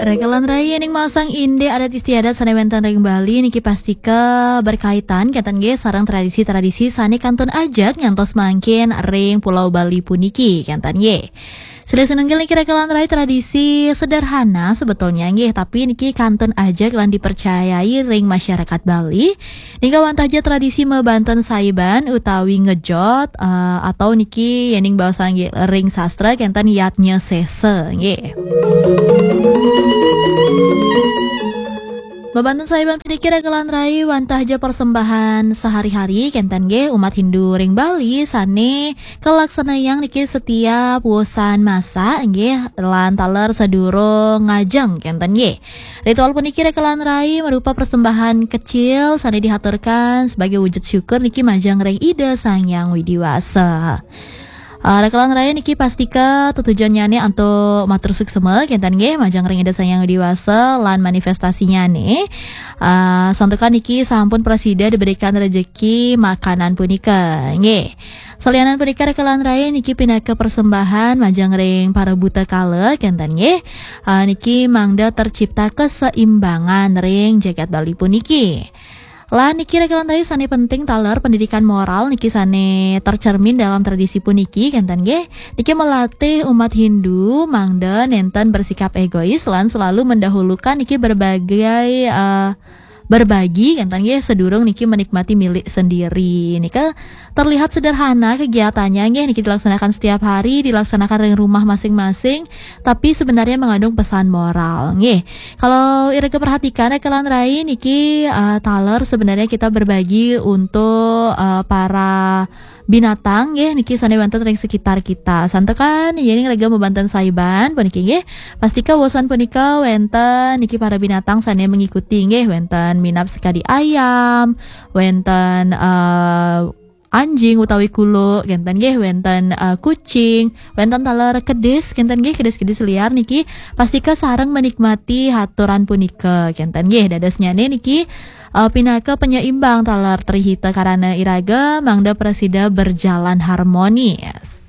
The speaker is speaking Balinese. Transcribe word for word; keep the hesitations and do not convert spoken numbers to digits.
Rekelan rai ning masang indik adat istiadat sane wenten ring Bali niki pastika berkaitan kenten nggih sareng tradisi-tradisi sane kantun ajeg nyantos mangkin ring Pulau Bali puniki kenten nggih. Silih sinunggil niki rekelan rai tradisi sederhana sebetulnya nggih, tapi niki kantun ajeg lan dipercayai ring masyarakat Bali. Nika wantah ja tradisi mebanten saiban utawi ngejot, eh, atau niki yening basa nggih ring sastra kenten yatnya sesa nggih. Mebanten saiban puniki rekelan rai wantah ja persembahan sehari-hari kenten nggih umat Hindu ring Bali sane kalaksanayang niki setiap wusan masak nggih lan taler sadurung ngajeng kenten nggih. Ritual puniki rekelan rai merupa persembahan kecil sane dihaturkan sebagai wujud syukur niki majeng ring Ida Sang Hyang Widi Wasa. Uh, rekelan rai niki pastika tetujonnyane antuk matur suksema kenten nggih majeng ring Ida Sang Hyang Widi Wasa lan manifestasinyane uh, santukan niki sampun prasida diberikan rejeki makanan punika nggih. Salianan punika rekelan rai niki pinaka persembahan majeng ring para buta kala kenten nggih. Uh, niki mangda tercipta keseimbangan ring jagat Bali puniki. Lan niki rekelan rai sane penting taler pendidikan moral niki sane tercermin dalam tradisi puniki kenten nggih. Niki melatih umat Hindu mangda nenten bersikap egois lan selalu mendahulukan niki berbagai uh, berbagi kenten nggih sedurung niki menikmati milik sendiri. Nika terlihat sederhana kegiatannya nggih niki dilaksanakan setiap hari, dilaksanakan ring rumah masing-masing, tapi sebenarnya mengandung pesan moral nggih. Kalau iraga perhatikan rekelan rai niki uh, taler sebenarnya kita berbagi untuk uh, para binatang nggih niki sane wenten ring sekitar kita. Santukan yening rekelan mebanten saiban puniki nggih. Pastika wusan punika wenten niki para binatang sane mengikuti nggih wenten minab sekadi ayam, wenten uh, anjing utawi kuluk kenten nggih wenten uh, kucing, wenten taler kedis kenten nggih kedis-kedis liar niki pastika sareng menikmati haturan punika kenten nggih dadosnyane niki uh, pinaka penyeimbang taler trihita karana iraga mangda prasida berjalan harmonis.